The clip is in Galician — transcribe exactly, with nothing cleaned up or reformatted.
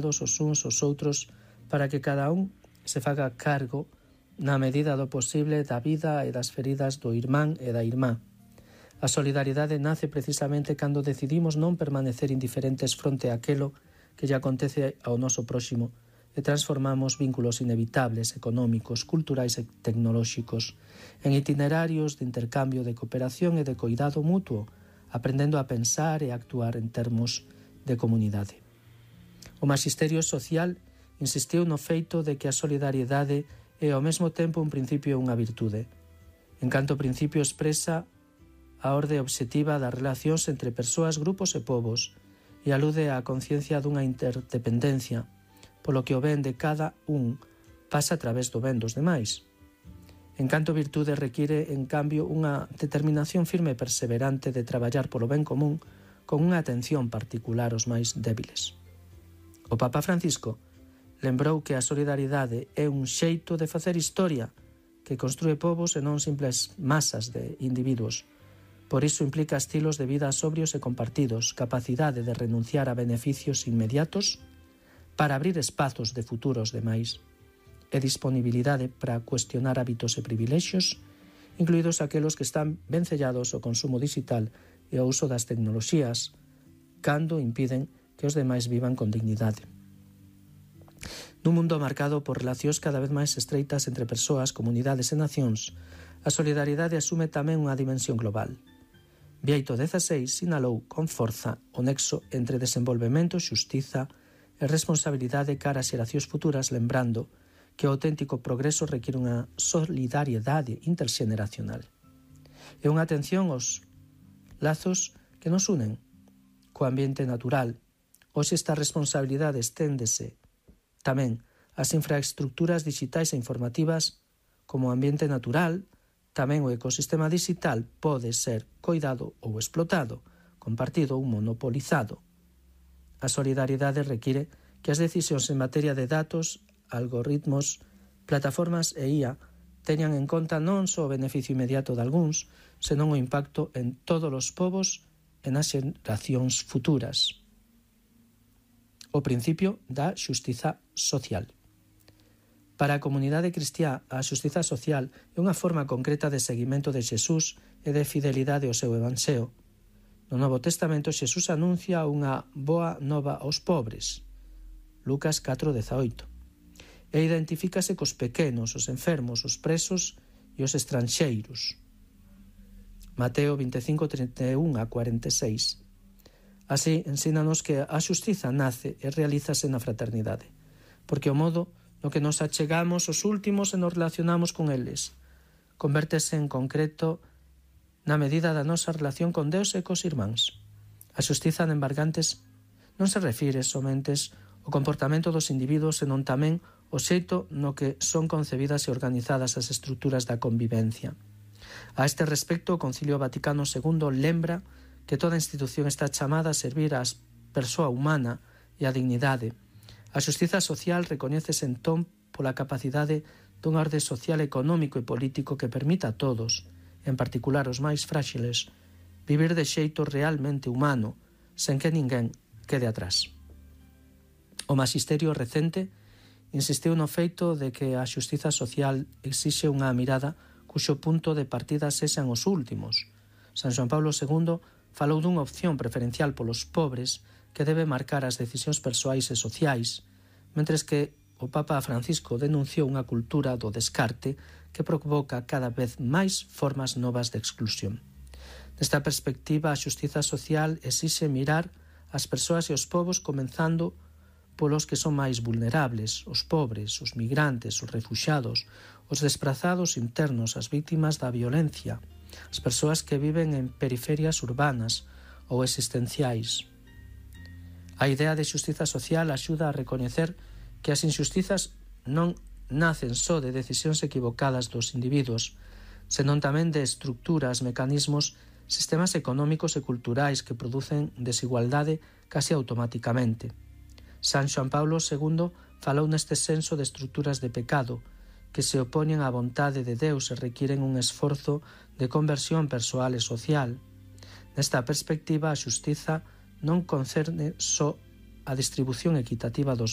os uns aos outros para que cada un se faga cargo na medida do posible da vida e das feridas do irmán e da irmá. A solidaridade nace precisamente cando decidimos non permanecer indiferentes fronte a aquelo que lle acontece ao noso próximo e transformamos vínculos inevitables, económicos, culturais e tecnolóxicos en itinerarios de intercambio de cooperación e de coidado mutuo, aprendendo a pensar e actuar en termos de comunidade. O Magisterio Social insistiu no feito de que a solidariedade é ao mesmo tempo un principio e unha virtude. En canto principio expresa a orde obxectiva das relacións entre persoas, grupos e povos e alude á conciencia dunha interdependencia, polo que o ben de cada un pasa a través do ben dos demais. En canto virtude require, en cambio, unha determinación firme e perseverante de traballar polo ben común con unha atención particular aos máis débiles. O Papa Francisco lembrou que a solidaridade é un xeito de facer historia que construe povos e non simples masas de individuos. Por iso implica estilos de vida sobrios e compartidos, capacidade de renunciar a beneficios inmediatos para abrir espazos de futuros demais e disponibilidade para cuestionar hábitos e privilexios, incluídos aqueles que están vencellados ao consumo digital e ao uso das tecnoloxías, cando impiden que os demais vivan con dignidade. Nun mundo marcado por relacións cada vez máis estreitas entre persoas, comunidades e nacións, a solidaridade asume tamén unha dimensión global. Bieito dezasseis sinalou con forza o nexo entre desenvolvemento, xustiza e responsabilidade cara ás xeracións futuras, lembrando que o auténtico progreso require unha solidariedade interxeneracional e unha atención aos lazos que nos unen co ambiente natural. Hoxe esta responsabilidade esténdese tamén as infraestructuras digitais e informativas como ambiente natural. Tamén o ecosistema digital pode ser coidado ou explotado, compartido ou monopolizado. A solidaridade require que as decisións en materia de datos, algoritmos, plataformas e I A teñan en conta non só o beneficio inmediato de algúns, senón o impacto en todos os povos e nas xeracións futuras. O principio da xustiza social. Para a comunidade cristiá, a xustiza social é unha forma concreta de seguimento de Xesús e de fidelidade ao seu evanxeo. No Novo Testamento, Xesús anuncia unha boa nova aos pobres, Lucas catro dezaoito, e identifícase cos pequenos, os enfermos, os presos e os estranxeiros, Mateo vinte e cinco, trinta e un a cuarenta e seis. Así, ensínanos que a xustiza nace e realízase na fraternidade, porque o modo no que nos achegamos os últimos e nos relacionamos con eles convértese en concreto na medida da nosa relación con Deus e cos irmáns. A xustiza de embargantes non se refire somente ao comportamento dos individuos, senón tamén o xeito no que son concebidas e organizadas as estruturas da convivencia. A este respecto, o Concilio Vaticano segundo lembra que toda institución está chamada a servir a persoa humana e a dignidade. A xustiza social recoñécese entón pola capacidade dun orde social, económico e político que permita a todos, en particular os máis fráxiles, vivir de xeito realmente humano, sen que ninguén quede atrás. O Magisterio recente insistiu no feito de que a xustiza social exixe unha mirada cuxo punto de partida sexan os últimos. San Xoán Paulo segundo falou dunha opción preferencial polos pobres que debe marcar as decisións persoais e sociais, mentres que o Papa Francisco denunciou unha cultura do descarte que provoca cada vez máis formas novas de exclusión. Nesta perspectiva, a xustiza social exixe mirar as persoas e os povos comenzando polos que son máis vulnerables, os pobres, os migrantes, os refuxados, os desprazados internos, as vítimas da violencia, as persoas que viven en periferias urbanas ou existenciais. A idea de xustiza social axuda a recoñecer que as injustizas non nacen só de decisións equivocadas dos individuos, senón tamén de estructuras, mecanismos, sistemas económicos e culturais que producen desigualdade casi automáticamente. San Xoán Paulo segundo falou neste senso de estruturas de pecado que se opoñen á vontade de Deus e requiren un esforzo de conversión persoal e social. Nesta perspectiva, a xustiza non concerne só a distribución equitativa dos